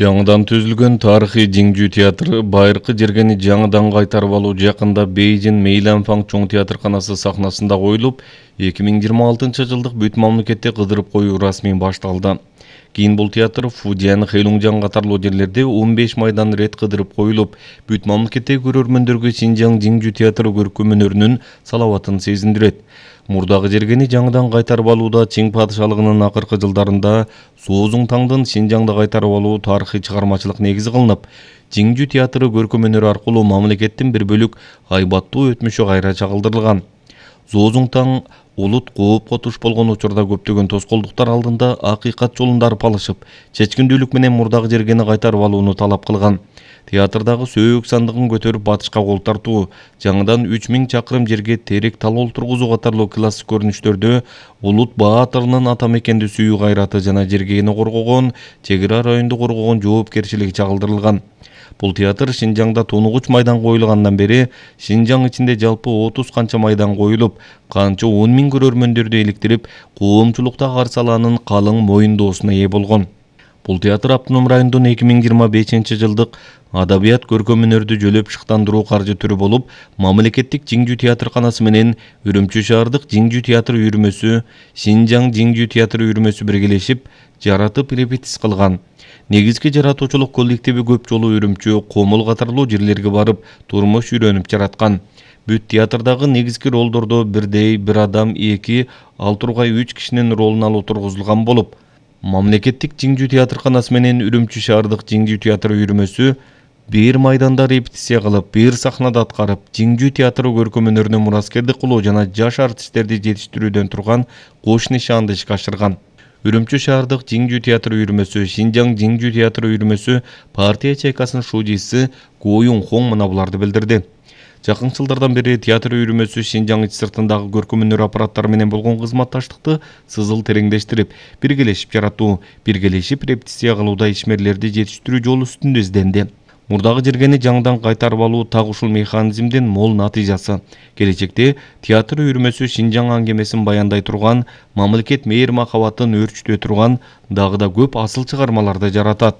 Жаңыдан түзүлгөн тарыхый Жиңжүү театры байыркы жергени жаңыдан кайтарып алуу жакында Бейжин Мейланфан чоң театрканасы сахнасында коюлуп, 2026 жылдык бүт мамлекетте кыдырып коюу расмий башталды. Кийин бул театр Фудзян, Хэйлунжан катарлуу жерлерде 15 майдан рет кыдырып коюлуп, бүт мамлекеттеги көрөрмөндөргө Шинжаң Жиңжүү театры көркөм өнөрүнүн салаватын сезиндирет. Мурдагы жергени жаңыдан кайтарып алууда Чиң падышалыгынын акыркы жылдарында Соозуңтаңдын Шинжаңды кайтарып алуу тарыхый чыгармачылык негизи кылынып, Жиңжүү театры көркөм өнөрү аркылуу мамлекеттин бир бөлүк айбаттуу өтмүшү кайра чагылдырылган. Соозуңтаң улут коопко туш болгон учурда көптөгөн тоскоолдуктар алдында акыйкат жолунда арпалышып, чечкиндүүлүк менен мурдагы жергени кайтарып алууну талап кылган. Театрдагы сөөгүк сандыгын көтөрүп батышка кол тартуу, жаңыдан 3000 чакырым жерге терек тал олтургузуу катарлуу классик көрүнүштөрдө улут баатырынын ата мекенди сүйүү кайраты жана жергени коргогон, чек ара районду коргогон жоопкерчилиги чагылдырылган. Бул театр Шинжаңда тунугуч майдан коюлгандан бери Шинжаң ичинде жалпы 30 канча майдан коюлуп, канча 10 000 көрөрмөндөрдү иликтирип, коомчулукта каршы алаанын калың моюндоосуна ээ болгон. Бул театр автоном райондун 2025 жылдык адабият көркөм өнөрдү жөлөп шыктандыруу каржы түрү болуп, мамлекеттик Жиңжүү театрканасы менен Үрүмчү шаардык Жиңжүү театр үйүрмөсү, Шинжаң Жиңжүү театр үйүрмөсү биргелешип, жаратып репетиция кылган. Негизги жаратуучулук коллективи көп жолу Үрүмчү, Комул катарлуу жерлерге барып, турмуш үйрөнүп жараткан. Бүт театрдагы негизги ролдордо бирдей бир адам 2, ал тургай 3 кишинин ролун алуу тургузулган болуп, мамлекеттик Жиңжүү театрканасы менен Үрүмчү шаардык Жиңжүү театр үйүрмөсү бир майданда репетиция кылып, бир сахнада аткарып, Жиңжүү театры көркөм өнөрүнө мураскердик кылуу жана жаш артисттерди жетиштирүүдөн турган кош нишаанды ишке ашырган. Үрүмчү шаардык Жиңжүү театр үйүрмөсү, Шинжаң Жиңжүү театр үйүрмөсү партия чайкасынын шуудиси Гоюн Хон мына буларды билдирди. Жакын жылдардан бери театр үйүрмөсү Шинжаң ич сыртындагы көркөм өнөр аппараттары менен болгон кызматташтыкты сызыл тереңдештирип, биргелешип жаратуу, биргелешип репетиция кылууда ишмерлерди жетиштирүү жолу үстүндө изденди. Мурдагы жергени жаңыдан кайтарып алуу так ушул механизмдин мол натыйжасы. Келечекте театр үйүрмөсү Шинжаң аңгемесин баяндай турган, мамлекет мээр махабатын өөрчүтө турган дагы да көп асыл чыгармаларды жаратат.